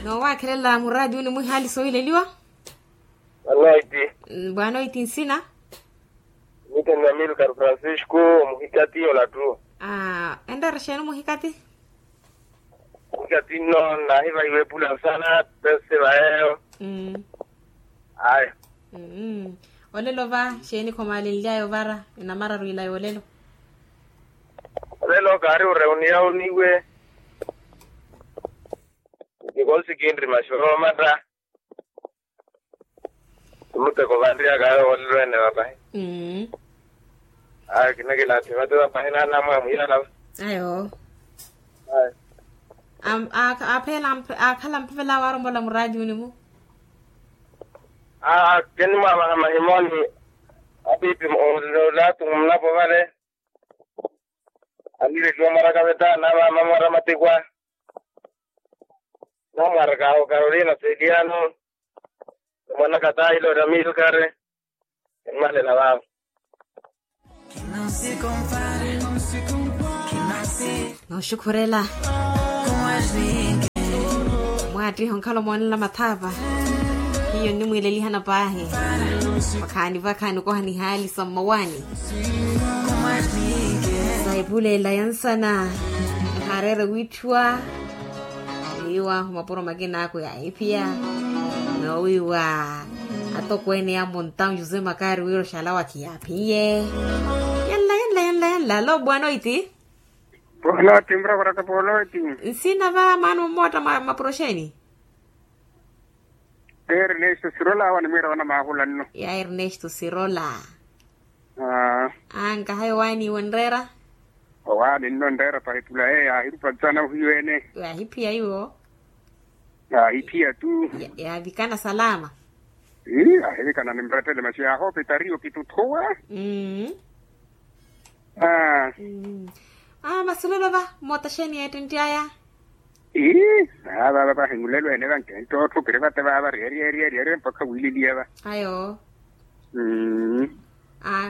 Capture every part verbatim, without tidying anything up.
Noowakhelela muraati uni mwihaali soohileliwa. Anoiti. Bwanoiti nsina. Mite ni amilcar francisco. Muhikati olatu. Enreera xeeni muhikati? Muhikati nno naahivahiwa epula nsana. Pese vayeyo. Aya. Olelo va xeeni khomaalenly'aya ovara enamararu ila yoolelo? Olelo kaari oreuniya oniwe. Nikonsi kinrima xoromata. Muteko vanriyaka ayo olelo ene vapahi. Ayo kinakilathi vate vapahi nanamwe amuyalava. Ayo. Aphela akhala mpevela awarombola muraatiuni mu. Kenimwavaha mahimoni. Apipi olatu munapo vale. Aliletiwa mwaraka veta navaama mwara matikwa. Namwaraka awo karolina seliano. Mwanaka tailo ramilkare. Mmalela vavo. Nooxukhurela. Mwaattiha onkhala omoonela mathaapa. Hiyo nnimwiilelihana paahi. Vakhaani vakhaani okoha nihaali sa mmawaani. Sa epulela ya nsana. Ehaareere wiitthiwa. Iwa mapuro makina akwe yaahiphiya. Noowiiwa atokweene ya montaun jose makari wira oxalawa khiyaaphiye. Yanla yanla yanla yanla alo bwanoiti. Bwanoiti murakuraka bwanoiti. Nsina va maana ommotta mapuro xeeni? Ernesto sirola awa nimwiira wana maahula nno. Ya ernesto sirola. Ankahayo waani iwe onreera? Owaani nno onreera pahipula eyo yaahirupa nsana ohiyo ene. Yaahiphiya iwo. Yaahiphiya tu. Yaavikana salama. Ii yaahivikana nimrettele masi yaahoopita riyo kituthuwa. Aa masi olelo va mmotta xeeni yeettentti aya? Ii naavava vahinlelo ene vankentta otthukiri vate vaava ryeeryeeryeerye mpakha wiililiya va. Ayo. Mmm.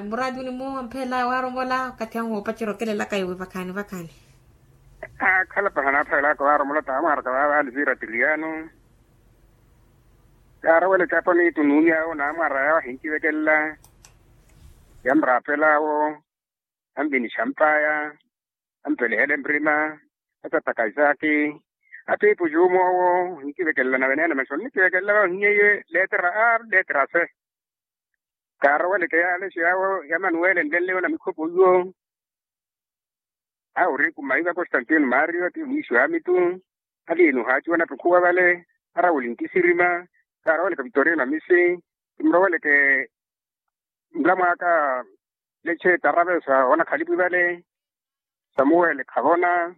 Muraati uni muwo amphelela waaromola okathi ahu woopacerya okelelaka iwe vakhaani vakhaani. Akhala paha naaphalelaka waaromola taamwaaraka vaava alivira tiriano. Yaarowela ecapo niitu nuuni awo naamwaara yawo ahinkivekelela. Yamuraapela awo. Ampini xampaya. Ampelihela emprima. Asattaka isaaki. Apiipu juumoowo. Hinkivekelela naveneene maxi onnikivekelela vahinyeiye leetera a leetera se. Kaaroweleke yaalexi yaawo ya manuwele nlenleyo na mikhopo iwo. Awo ori kumaiva constantino mario ati mwiixi wa mitu. Aliini ohaaciwa natukhuwa vale. Arawuli ntisirima. Kaaroweleke vitorino amisi. Kimuroweleke. Nlamwaaka. Leche tarave sa onakhalipu ivale. Samuwele khavona.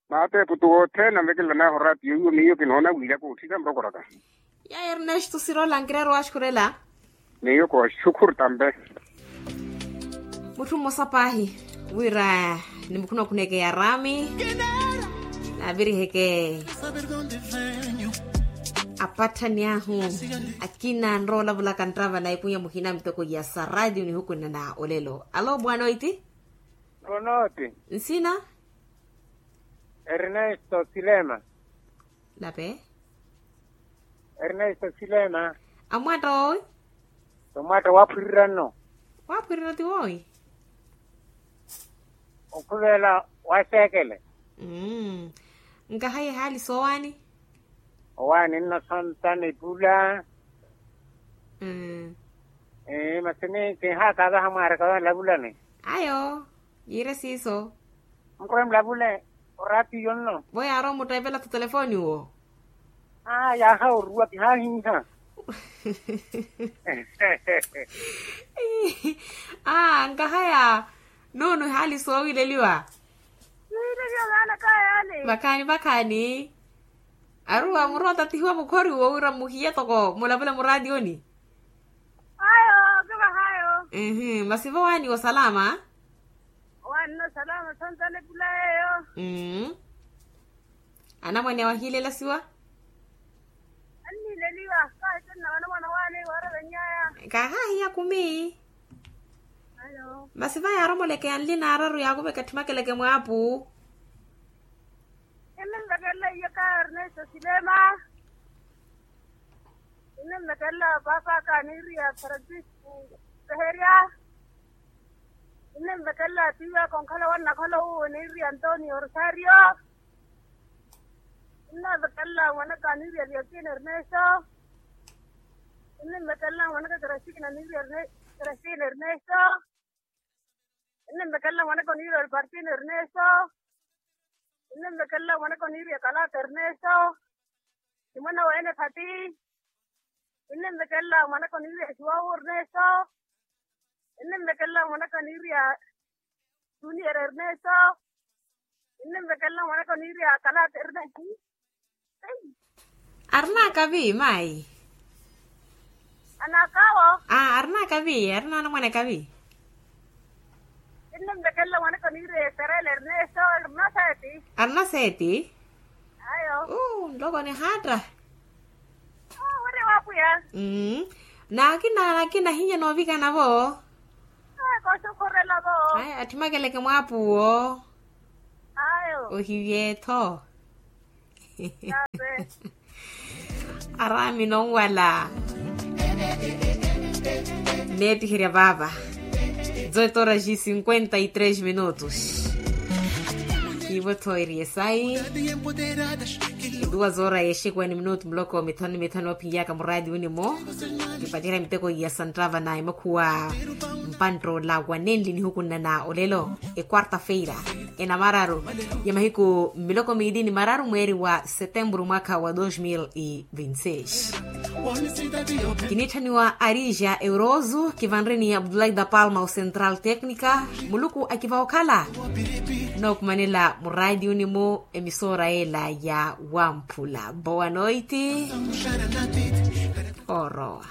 Maateepu tu wothene anvekelela naaho oraatiyo iwo miyo kinoona wiilaka otthika murokoraka. Ya ernesto sirola nkireera owaxukhurela. Miyo kooxukhuru tampe. Mutthu mmosa paahi wira nimukhunakhuneeke yaraami. Naaviriheke. Apatthani ahu akina anrowa olavulaka nttava na epunya muhina mitoko ya sa raatiyo nihukunana olelo alo bwanoiti. Bwanoiti. Nsina? Ernesto silema. Lape. Ernesto silema. Amwatta woowi? Tomwatta waaphwirira nno. Waaphwirira ti woowi? Okhuvela waseekele. Nkahayi ehaali soowaani? Owaani nno sontana epula. Masi ni kinhaakavaha mwaaraka vanlavulani. Ayo. Yiire siiso. Nkhwe mulavule. Oraatiyo nno vo yaarowa omutteepela tu telefoni wo. Aa yaaha oruwa kihaahiiha. Aa nkahaya. Nuunu ehaali soowileliwa. Vakhaani vakhaani. Aruwa murowa tatihiwa mukhori wo wira muhiye toko mulavule muraatiyoni. Ayo kivahayo. Masi vo waaniwa osalama? Waanina osalama sontana epula yeeyo. Anamwane awo ahiilelasiwa? Anniileliwa. Kaahittenna vanamwane waani woorevennyaya. Kaahaahiya kumi. Masi va yaaromoleke ya nli naararu yaakuveke atthimakeleke mwaapu. Enninvekelela iye ka ernesto silema. Ninnivekelela paapa aka niiriya francisco, peherya. Ninnivekelela tiiwaka onkhala wannakhala uwo niiriya antonio rosario. Ninnivekelela mwanaka niiriya liotine ernesto. Ninnivekelela mwanaka krastina niiriya krastina ernesto. Ninnivekelela mwanaka niiriya alpartina ernesto. Ninnivekelela mwanaka niiriya kalata ernesto. Ni mwana wa ene phati. Ninnivekelela mwanaka niiriya juwawu ernesto. Ninnivekelela mwanaka niiriya junior ernesto. Ninnivekelela mwanaka niiriya kalata ernesto. Arina akavi mayi? Anakawo. Arina akavi arina anamwane akavi. Ninnivekelela mwanaka niiriya eterela ernesto. Arina seti. Arina seti. Ayo. Nloko nihaatta. Wira wa pwiya. Nakina nakina ahinya noovikana vo. Koosukhurela vo. Atthimakeleke mwaapuwo. Ayo. Ohivye-tho. Araami nonwala. Neettiherya vaava. Zoito horas e cinquenta e três minutos. Kiivo-tho eri esayi. Duas horas e cinquenta minutos muloko mithanu ni mithanu ophinyaka muraati wini-mo. Kipacerya miteko ya santtava na emakhuwa. Mpanttoola wa nenli nihukunana olelo. Equarta-feira enamararu ya mahiku miloko miili ni mararu mweeri wa setempuru mwaka wa dos mil e vinte seis. Kiniitthaniwa arija eurozu kivanreni abdulai da palma ocentral tecnica. Muluku akiva okhala nookumanela muraati wini-mo. Emisora ela ya wamphula boa noiti. Orowa.